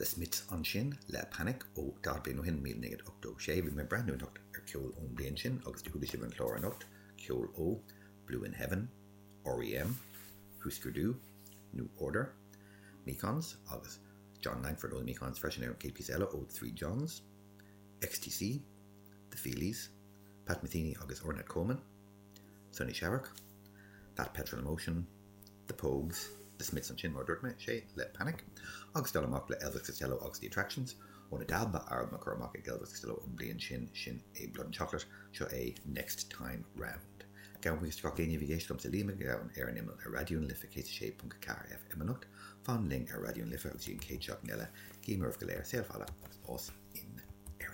The Smiths ansin le Panic ó 40 bliain ó shin, 1986. Bhí mé ag breathnú anocht ar ceol ón mbliain sin agus do chuala sibh an clár anocht, ceol ó Blue in Heaven, R.E.M., Husker Du, New Order, Mekons agus Jon Langford ó The Mekons freisin ar an chéad píosa eile ó The Three Johns, XTC, The Feelies, Pat Metheny agus Ornette Coleman, Sonny Sharrock, That Petrol Emotion, The Pogues, The Smiths ansin mar a dúirt mé, sé, le Panic, agus dul amach le Elvis Costello agus The Attractions, óna dá albam a cuireadh amach ag Elvis Costello an bhliain sin, sin é Blood and Chocolate, seo é Next Time Round. Gabhaim buíochas de gach éinne a bhí ag éisteacht liomsa Liam Mac Gabhann ar an Imeall ar Raidió na Life 106.4 FM anocht. Fan linn ar Raidió na Life agus go dtí an chéad seachtain eile, guím oraibh go léir saol fada agus fás.